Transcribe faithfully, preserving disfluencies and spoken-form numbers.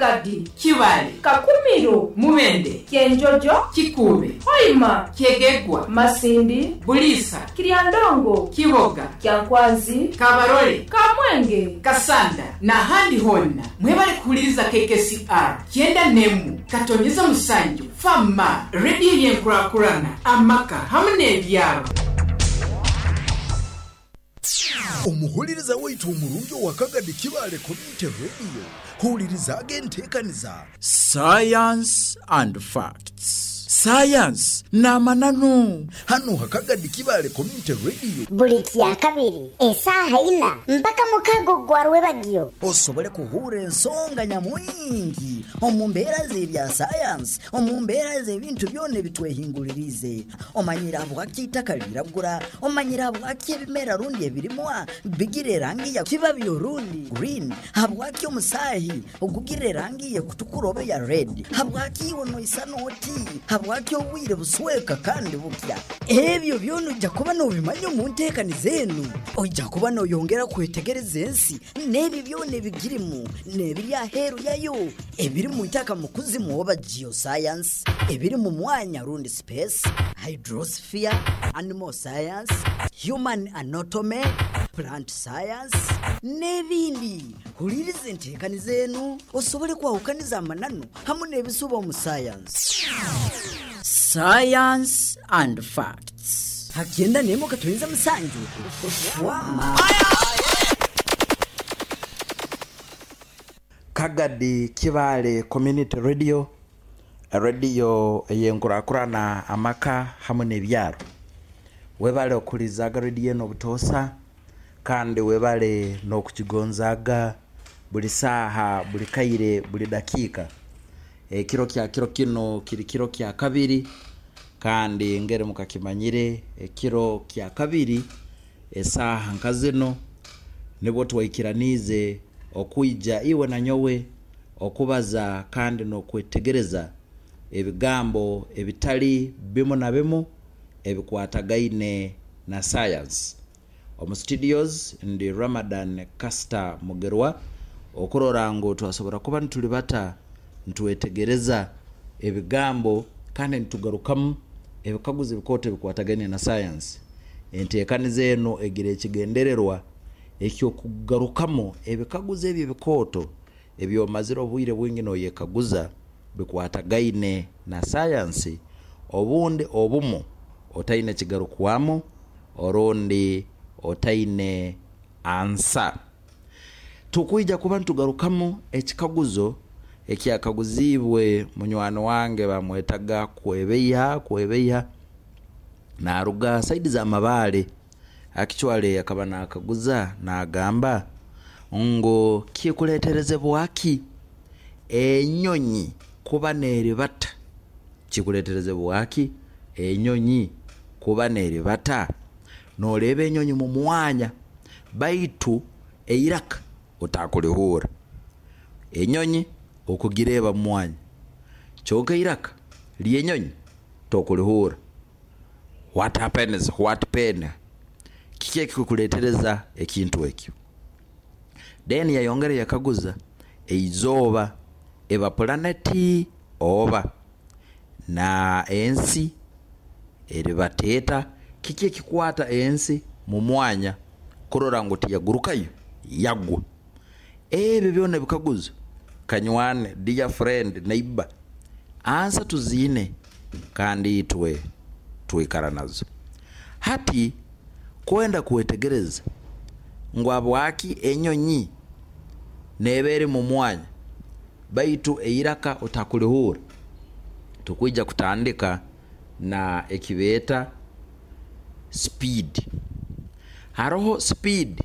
Kagadi, Kibale, Kakumiro, Mubende, Kyenjojo, Kikuube, Hoima, Kyegegwa, Masindi, Buliisa, Kiryandongo, Kiboga, Kyankwanzi, Kabarole, Kamwenge, Kasanda n'ahandi honna. Mwebale kuhuliriza K K C R kyenda nemu katonyeza musanju Fama Rediyo yenkurakurana amaka hamu n'ebyaro. Omuhuliriza waitu omurungi owa Kagadi Kibale Community Radio, hulirizaaga enteekaniza Science and Facts, sayansi n'amananu, hano Hakagadi Kibale Community Radio. Buli kyakabiri esaaha ina mpaka mukago gwa rwebagyo. Osobole kuhura ensonga nyamwingi omu mbeera z'ebya sayansi, omu mbeera z'ebintu byona ebitwehingulirize. Omanyire habwaki itaka liragura, omanyire habwaki ebimera rundi ebirimwa bigira erangi ya kibabi orundi green, habwaki omusaahi ogugira erangi yekutukura oba ya red, habwaki iwe noisana oti, habwaki obwire busweka kandi bukya. Ebyo byona ojja kuba nobimanya omu nteekaniza enu. Ojja kuba noyongera kwetegereza ensi n'ebyo byona ebigirimu n'ebiri aheeru yayo, ebiri mu itaka mu kuzimu oba geoscience, ebiri mu mwanya rundi space, hydrosphere, animal science, human anatomy, plant science n'ebindi. Huliriza enteekaniza enu osobole kwahukaniza amananu hamu n'ebisuba omu science. Science and Facts. Hakyenda nemu katuyinza musanju wama. Kagadi Kibale Community Radio, rediyo yenkurakurana amaka hamwe n'ebyaro. Webale okulizaga rediyo eno obutoosa, kandi webale n'okukigonzaga buli saaha, buli kaire, buli dakiika. Ekiro kya kiro kino kiri kiro kya kabiri, kandi ngeri mukakimanyire, ekiro kya kabiri esaaha nka zino nibwo twaikiraniize okwija iwe na nyowe okubaza kandi n'okwetegereza ebigambo ebitali bimu na bimu ebikwatagaine na science. Omu studios ndi Ramadan Caster Mugerwa, okurora ngu twasobora kuba nitulibata nitwetegereza ebigambo kandi nitugarukamu ebikaguzo ebikooto ebikwatagaine na science. Enteekaniza eno egira ekigendererwa ekyokugarukamu ebikaguzo ebyo ebikooto ebyomazire obwire bwingi noyekaguza bikwatagaine na sayansi, obundi obumu otaine kigarukwamu orundi otaine ansa. Tukwija kuba nitugarukamu ekikaguzo ekyakaguziibwe munywani wange bamwetaga Kwebeiha. Kwebeiha naruga side za Mabaale. Actually akaba nakaguza nagamba ngu kikuleterezebwaki enyonyi kuba neribata? Kikuleterezebwaki enyonyi kuba neribata? Noreeba enyonyi mu mwanya, baitu eiraka otakulihura. Enyonyi okugireeba mu mwanya, kyonka eiraka ly'enyonyi tokulihura. What happens? What pain? Kiki ekikuletereza ekintu ekyo? Then yayongera yakaguza, eizooba eba pulaneti oba na ensi eribateeta? Kiki ekikwata ensi mu mwanya kurora ngu tiyagurukayo yagwa? Ebyo byona ebikaguzo, kanywane, dear friend, neighbor, ansa tuziine kandi itwe twikara nazo. Hati kwenda kwetegereza ngu habwaki enyonyi neeba eri mu mwanya baitu eiraka otakulihura, tukwija kutandika na ekibeeta speed. Haroho speed.